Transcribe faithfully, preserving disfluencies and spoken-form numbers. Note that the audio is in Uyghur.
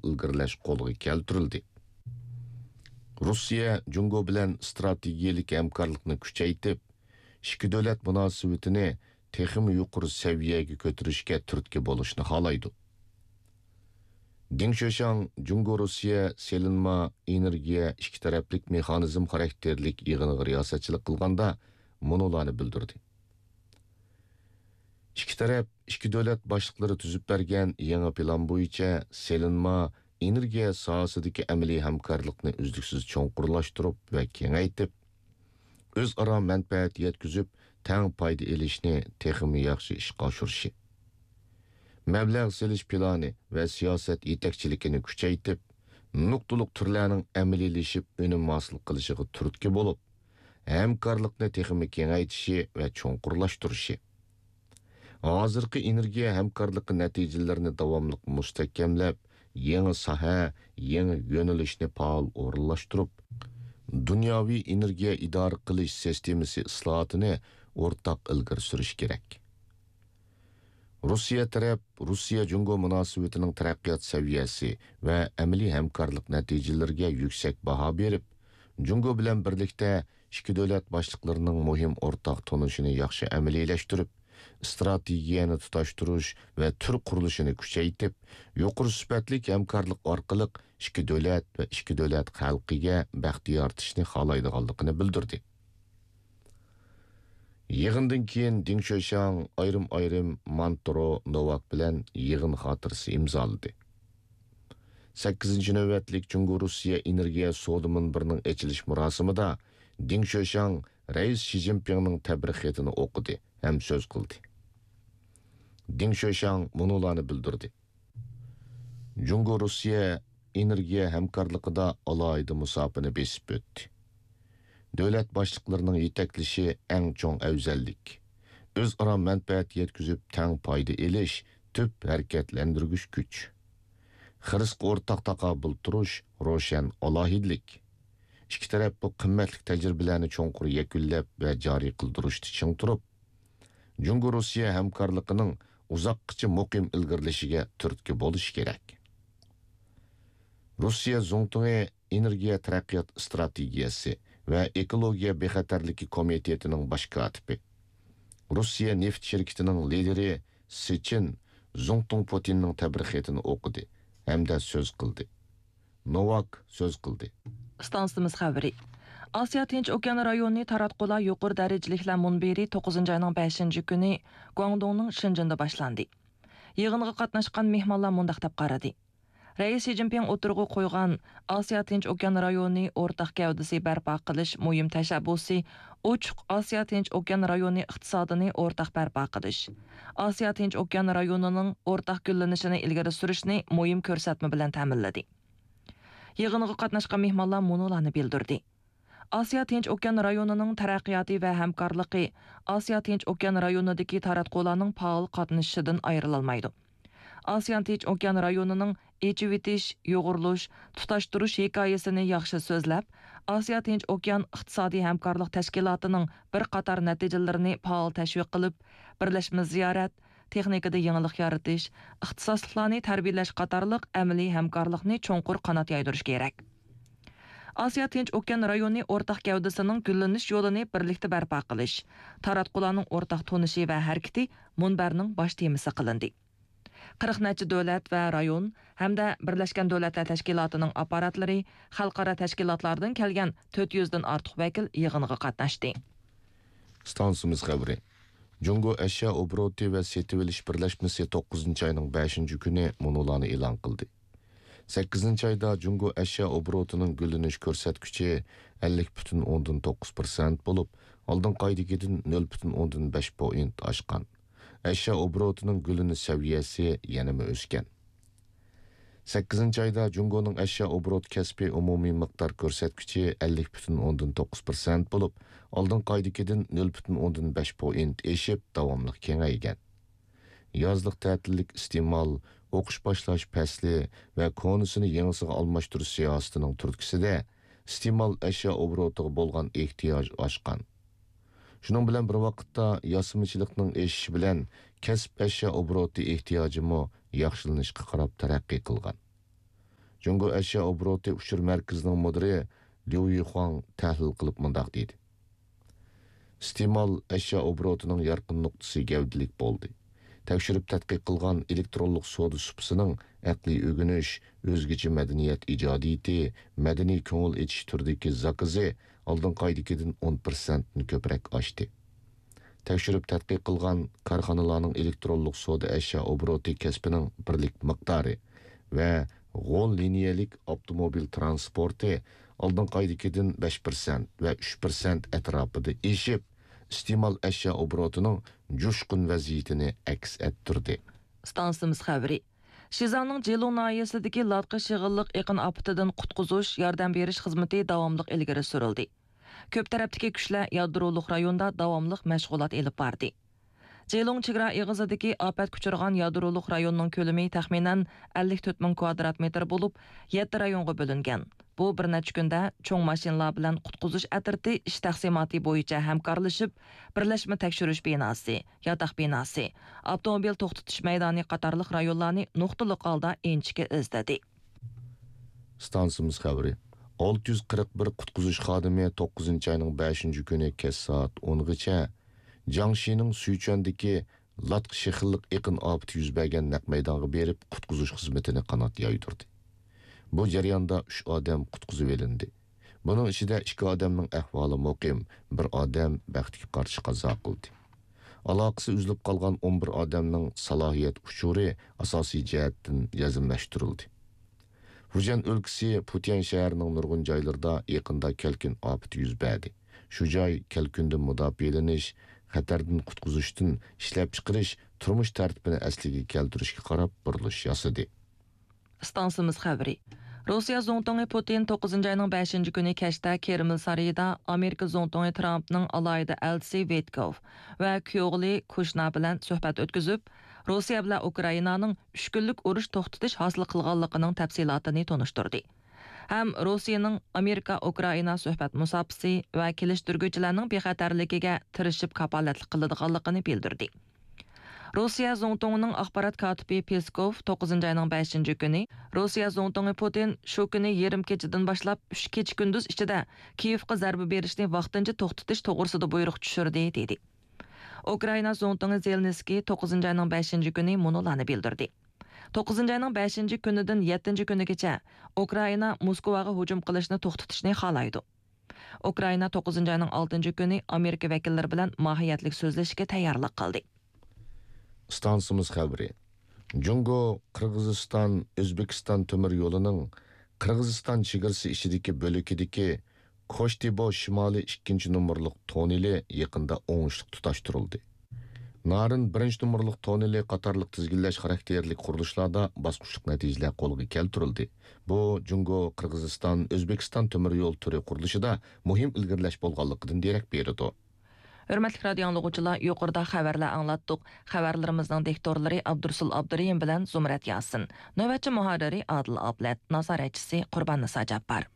ئىلگىرىلەش قولغا كەلتۈرۈلدى. روسىيە جۇڭگو بىلەن ئىستراتېگىيەلىك ھەمكارلىقنى كۈچەيتىپ، ئىككى دۆلەت مۇناسىۋىتىنى تېخىمۇ يۇقىرى سەۋىيەگە كۆتۈرۈشكە تۈرتكە بولۇشنى خالايدۇ. دېڭ شۆشاڭ جۇڭگو روسىيە سېلىنما ئېنېرگىيە ئىككى تەرەپلىك مېخانىزم خاراكتېرلىك يىغىنىغا رىياسەتچىلىك قىلغاندا مۇنۇلارنى بىلدۈردى. ئىككى تەرەپ، ئىككى دۆلەت باشلىقلىرى تۈزۈپ بەرگەن يېڭى پىلان بويىچە سېلىنما ئېنېرگىيە ساھەسىدىكى ئەمەلىي ھەمكارلىقنى ئۈزلۈكسىز چوڭقۇرلاشتۇرۇپ ۋە كېڭەيتىپ، ئۆزئارا مەنپەئەت يەتكۈزۈپ، تەڭ پايدا ئېلىشنى تېخىمۇ ياخشى ئىشقا ئاشۇرۇشى، مەبلەغ سېلىش پىلانى ۋە سىياسەت يېتەكچىلىكىنى كۈچەيتىپ، نۇقتىلىق تۈرلەرنىڭ ئەمەلىيلىشىپ ئۈنۈم ھاسىل قىلىشىغا تۈرتكە بولۇپ، ھەمكارلىقنى تېخىمۇ كېڭەيتىشى ۋە چوڭقۇرلاشتۇرۇشى، ھازىرقى ئېنېرگىيە ھەمكارلىقى نەتىجىلىرىنى داۋاملىق مۇستەھكەملەپ، يېڭى ساھە، يېڭى يۆنىلىشنى پائال ئورۇنلاشتۇرۇپ، دۇنياۋى ئېنېرگىيە ئىدارە قىلىش سىستېمىسى ئىسلاھاتىنى ئورتاق ئىلگىرى سۈرۈش كېرەك. روسىيە تەرەپ روسىيە جۇڭگو مۇناسىۋىتىنىڭ تەرەققىيات سەۋىيەسى ۋە ئەمەلىي ھەمكارلىق نەتىجىلىرىگە يۈكسەك باھا بېرىپ، جۇڭگو بىلەن بىرلىكتە ئىككى دۆلەت باشلىقلىرىنىڭ مۇھىم ئورتاق تونۇشىنى ياخشى ئەمەلىيلەشتۈرۈپ، ئىستراتېگىيەنى تۇتاشتۇرۇش ۋە تۈر قۇرۇلۇشىنى كۈچەيتىپ، يۇقىرى سۈپەتلىك ھەمكارلىق ئارقىلىق ئىككى دۆلەت ۋە ئىككى دۆلەت خەلقىگە بەخت يارىتىشنى خالايدىغانلىقىنى بىلدۈردى. يىغىندىن كېيىن دېڭ شۆشياڭ ئايرىم-ئايرىم مانترو نوۋاك بىلەن يىغىن خاتىرىسى ئىمزالىدى. سەككىزىنچى نۆۋەتلىك جۇڭگو-روسىيە ئېنېرگىيە سودا مۇنبىرىنىڭ ئېچىلىش مۇراسىمىدا دېڭ شۆشياڭ رەئىس شى جىنپىڭنىڭ تەبرىك خېتىنى ئوقۇدى ھەم سۆز قىلدى. دېڭ شۆشياڭ مۇنۇلارنى بىلدۈردى. جۇڭگو-روسىيە ئېنېرگىيە ھەمكارلىقىدا ئالاھىدە مۇساپىنى بېسىپ ئۆتتى. دۆلەت باشلىقلىرىنىڭ يېتەكلىشى ئەڭ چوڭ ئەۋزەللىك، ئۆزئارا مەنپەئەت يەتكۈزۈپ تەڭ پايدا ئېلىش تۈپ ھەرىكەتلەندۈرگۈچ كۈچ. خىرىسقا ئورتاق تاقابىل تۇرۇش روشەن ئالاھىدىلىك. ئىككى تەرەپ بۇ قىممەتلىك تەجرىبىلەرنى چوڭقۇر يەكۈنلەپ ۋە جارى قىلدۇرۇشتا چىڭ تۇرۇپ، جۇڭگو-روسىيە ھەمكارلىقىنىڭ ئۇزاققىچە مۇقىم ئىلگىرىلىشىگە تۈرتكە بولۇشى كېرەك. روسىيە زۇڭتۇڭى ئېنېرگىيە تەرەققىيات ئىستراتېگىيەسى ۋە ئېكولوگىيە بىخەتەرلىكى كومىتېتىنىڭ باش كاتىپى، روسىيە نېفىت شىركىتىنىڭ لىدىرى سىچىن زۇڭتۇڭ پۇتىننىڭ تەبرىك خېتىنى ئوقۇدى ھەمدە سۆز قىلدى. نوۋاك سۆز قىلدى. ئىستانسىمىز خەۋىرى. ئاسىيا تىنچ ئوكيان رايونى تاراتقۇلار يۇقىرى دەرىجىلىكلەر مۇنبىرى توققۇزىنچى ئاينىڭ بەشىنچى كۈنى گۇاڭدۇڭنىڭ شېنجېندا باشلاندى. يىغىنغا قاتناشقان مېھمانلار مۇنداق دەپ قارىدى. رەئىس شى جىنپىڭ ئوتتۇرىغا قويغان ئاسىيا تىنچ ئوكيان رايونى ئورتاق گەۋدىسى بەرپا قىلىش مۇھىم تەشەببۇسى ئوچۇق ئاسىيا تىنچ ئوكيان رايونى ئىقتىسادىنى ئورتاق بەرپا قىلىش، ئاسىيا تىنچ ئوكيان رايونىنىڭ ئورتاق گۈللىنىشىنى ئىلگىرى سۈرۈشنى مۇھىم كۆرسەتمە بىلەن تەمىنلىدى. يىغىنغا قاتناشقان مېھمانلار مۇنۇلارنى بىلدۈردى. ئاسىيا تىنچ ئوكيان رايونىنىڭ تەرەققىياتى ۋە ھەمكارلىقى ئاسىيا تىنچ ئوكيان رايونىدىكى تاراتقۇلارنىڭ پائال قاتنىشىشىدىن ئايرىلالمايدۇ. ئاسىيا تىنچ ئوكيان رايونىنىڭ ئېچىۋېتىش، يۇغۇرۇلۇش، تۇتاشتۇرۇش ھېكايىسىنى ياخشى سۆزلەپ، ئاسىيا تىنچ ئوكيان ئىقتىسادىي ھەمكارلىق تەشكىلاتىنىڭ بىر قاتار نەتىجىلىرىنى پائال تەشۋىق قىلىپ، بىرلەشمە زىيارەت، تېخنىكىدا يېڭىلىق يارىتىش، ئىختىساسلىقلارنى تەربىيەلەش قاتارلىق ئەمەلىي ھەمكارلىقنى چوڭقۇر قانات يايدۇرۇش كېرەك. ئاسىيا تىنچ ئوكيان رايونى ئورتاق گەۋدىسىنىڭ گۈللىنىش يولىنى بىرلىكتە بەرپا قىلىش، تاراتقۇلارنىڭ ئورتاق تونۇشى ۋە ھەرىكىتى مۇنبەرنىڭ باش تېمىسى قىلىندى. قىرىق نەچچە دۆلەت ۋە رايون ھەمدە بىرلەشكەن دۆلەتلەر تەشكىلاتىنىڭ ئاپپاراتلىرى، خەلقئارا تەشكىلاتلاردىن كەلگەن تۆت يۈزدىن ئارتۇق ۋەكىل يىغىنغا قاتناشتى. ئىستانسىمىز خەۋىرى. جۇڭگو ئەشيا ئوبوروتى ۋە سېتىۋېلىش بىرلەشمىسى توققۇزىنچى ئاينىڭ بەشىنچى كۈنى مۇنۇلارنى ئېلان قىلدى. سەككىزىنچى ئايدا جۇڭگو ئەشيا ئوبوروتىنىڭ گۈللىنىش كۆرسەتكۈچى ئەللىك پۈتۈن ئوندىن توققۇز پىرسەنت بولۇپ، ئالدىنقى ئايدىكىدىن نۆل پۈتۈن ئوندىن بەش پوئىنت ئاشقان. ئەشيا ئوبوروتىنىڭ گۈللىنىش سەۋىيەسى يەنىمۇ ئۆسكەن. سەككىزىنچى ئايدا جۇڭگونىڭ ئەشيا ئوبوروت كەسپىي ئومۇمىي مىقدار كۆرسەتكۈچى ئەللىك پۈتۈن ئوندىن توققۇز پىرسەنت بولۇپ، ئالدىنقى ئايدىكىدىن نۆل پۈتۈن ئوندىن بەش پوئىنت ئېشىپ، داۋاملىق كېڭەيگەن. يازلىق تەتىللىك ئىستېمال، ئوقۇش باشلاش پەسلى ۋە كونىسىنى يېڭىسىغا ئالماشتۇرۇش سىياسىتىنىڭ تۈرتكىسىدە، ئىستېمال ئەشيا ئوبوروتىغا بولغان ئېھتىياج ئاشقان. شۇنىڭ بىلەن بىر ۋاقىتتا، ياسىمىچىلىقنىڭ ئېشىشى بىلەن كەسىپ ئەشيا ئوبوروتى ئېھتىياجىمۇ ياخشىلىنىشقا قاراپ تەرەققىي قىلغان. جۇڭگو ئەشيا ئوبوروتى ئۇچۇر مەركىزىنىڭ مۇدىرى ليۇ يىخۇاڭ تەھلىل قىلىپ مۇنداق دېدى: ئىستېمال ئەشيا ئوبوروتىنىڭ يارقىن نۇقتىسى گەۋدىلىك بولدى. تەكشۈرۈپ تەتقىق قىلغان ئېلېكترونلۇق سودا سۇپىسىنىڭ ئەقلىي ئۆگىنىش، ئۆزگىچە مەدەنىيەت ئىجادىيىتى، مەدەنىي كۆڭۈل ئېچىش تۈرىدىكى زاكىزى ئالدىنقى ئايدىكىدىن ئون پىرسەنتتىن كۆپرەك ئاشتى. تەكشۈرۈپ تەتقىق قىلغان كارخانىلارنىڭ ئېلېكترونلۇق سودا ئەشيا ئوبوروتى كەسپىنىڭ بىرلىك مىقدارى ۋە غول لىنىيەلىك ئاپتوموبىل تىرانسپورتى ئالدىنقى ئايدىكىدىن بەش پىرسەنت ۋە ئۈچ پىرسەنت ئەتراپىدا ئېشىپ، ئىستېمال ئەشيا ئوبوروتىنىڭ جۇشقۇن ۋەزىيىتىنى ئەكس ئەتتۈردى. ئىستانسىمىز خەۋىرى. شىزاڭنىڭ جىلۇڭ ناھىيەسىدىكى لاتقا شېغىللىق ئېقىن ئاپىتىدىن قۇتقۇزۇش، ياردەم بېرىش خىزمىتى داۋاملىق ئىلگىرى سۈرۈلدى. كۆپ تەرەپتىكى كۈچلەر يادرولۇق رايوندا داۋاملىق مەشغۇلات ئېلىپ باردى. جىلۇڭ چېگرا ئېغىزىدىكى ئاپەتكە ئۇچرىغان يادرولۇق رايوننىڭ كۆلىمى تەخمىنەن ئەللىك تۆت مىڭ كۋادرات مېتىر بولۇپ، يەتتە رايونغا بۆلۈنگەن. بۇ بىر نەچچە كۈندە چوڭ ماشىنىلار بىلەن قۇتقۇزۇش ئەترىتى ئىش تەقسىماتى بويىچە ھەمكارلىشىپ، بىرلەشمە تەكشۈرۈش بىناسى، ياتاق بىناسى، ئاپتوموبىل توختىتىش مەيدانى قاتارلىق رايونلارنى نۇقتىلىق ھالدا ئىنچىكە ئىزدىدى. ئىستانسىمىز خەۋىرى. ئالتە يۈز قىرىق بىر قۇتقۇزۇش خادىمى توققۇزىنچى ئاينىڭ بەشىنچى كۈنى كەچ سائەت ئونغىچە جياڭشىنىڭ سۈيچۈەندىكى لاتقا شېخىللىق ئېقىن ئاپىتى يۈز بەرگەن نەق مەيدانغا بېرىپ، قۇتقۇزۇش خىزمىتىنى قانات يايدۇردى. بۇ جەرياندا ئۈچ ئادەم قۇتقۇزۇۋېلىندى. بۇنىڭ ئىچىدە ئىككى ئادەمنىڭ ئەھۋالى مۇقىم، بىر ئادەم بەختكە قارشى قازا قىلدى. ئالاقىسى ئۈزۈلۈپ قالغان ئون بىر ئادەمنىڭ سالاھىيەت ئۇچۇرى ئاساسىي جەھەتتىن جەزملەشتۈرۈلدى. فۇجيەن ئۆلكىسى پۇتيەن شەھىرىنىڭ نۇرغۇن جايلىرىدا يېقىندا كەلكۈن ئاپىتى يۈز بەردى. شۇ جاي كەلكۈندىن مۇداپىئەلىنىش، خەتەردىن قۇتقۇزۇشتىن ئىشلەپچىقىرىش، تۇرمۇش تەرتىپىنى ئەسلىگە كەلتۈرۈشكە قاراپ بۇرۇلۇش ياسىدى. ئىستانسىمىز خەۋىرى. روسىيە زۇڭتۇڭى پۇتىن توققۇزىنچى ئاينىڭ بەشىنچى كۈنى كەچتە كرېمل سارىيىدا ئامېرىكا زۇڭتۇڭى ترامپنىڭ ئالاھىدە ئەلچىسى ۋىتكوف ۋە كۈيئوغلى كۇشنېر بىلەن سۆھبەت ئۆتكۈزۈپ، روسىيە بىلەن ئۇكرائىنانىڭ ئۈچ كۈنلۈك ئۇرۇش توختىتىش ھاسىل قىلغانلىقىنىڭ تەپسىلاتىنى تونۇشتۇردى. ھەم روسىيەنىڭ ئامېرىكا ئۇكرائىنا سۆھبەت مۇساپىسى ۋە كېلىشتۈرگۈچىلەرنىڭ بىخەتەرلىكىگە تىرىشىپ كاپالەتلىك قىلىدىغانلىقىنى بىلدۈردى. روسىيە زۇڭتۇڭىنىڭ ئاخبارات كاتىپى پېسكوف توققۇزىنچى ئاينىڭ بەشىنچى كۈنى روسىيە زۇڭتۇڭى پۇتىن شۇ كۈنى يېرىم كېچىدىن باشلاپ ئۈچ كېچە كۈندۈز ئىچىدە كىيېۋقا زەربە بېرىشنى ۋاقتىنچە توختىتىش توغرىسىدا بۇيرۇق چۈشۈردى، دېدى. ئۇكرائىنا زۇڭتۇڭى زېلېنسكىي توققۇزىنچى ئاينىڭ بەشىنچى كۈنى مۇنۇلارنى بىلدۈردى. توققۇزىنچى ئاينىڭ بەشىنچى كۈنىدىن يەتتىنچى كۈنىگىچە ئۇكرائىنا موسكۋاغا ھۇجۇم قىلىشنى توختىتىشنى خالايدۇ. ئۇكرائىنا توققۇزىنچى ئاينىڭ ئالتىنچى كۈنى ئامېرىكا ۋەكىللىرى بىلەن ماھىيەتلىك سۆزلىشىشكە تەييارلىق قىلدى. ئىستانسىمىز خەۋىرى. جۇڭگو، قىرغىزىستان، ئۆزبېكىستان تۆمۈر يولىنىڭ قىرغىزىستان چېگرىسى ئىچىدىكى بۆلىكىدىكى كوشتېبو شىمالىي ئىككىنچى نومۇرلۇق توننېلى يېقىندا ئوڭۇشلۇق تۇتاشتۇرۇلدى. نارىن بىرىنچى نومۇرلۇق توننېلى قاتارلىق تىزگىنلەش خاراكتېرلىك قۇرۇلۇشلاردا باسقۇچلۇق نەتىجىلەر قولغا كەلتۈرۈلدى. بۇ، جۇڭگو، قىرغىزىستان، ئۆزبېكىستان تۆمۈر يول تۈرى قۇرۇلۇشىدا مۇھىم ئىلگىرىلەش بولغانلىقىدىن دېرەك بېرىدۇ. ھۆرمەتلىك رادىئو ئاڭلىغۇچىلار، يۇقىرىدا خەۋەرلەر ئاڭلاتتۇق. خەۋەرلىرىمىزنىڭ دىكتورلىرى ئابدۇرسۇل ئابدۇرېھىم بىلەن زۇمرەت ياسىن. نۆۋەتچى مۇھەررىرى ئادىل ئابلەت. نازارەتچىسى قۇرباننىسا جاپپار.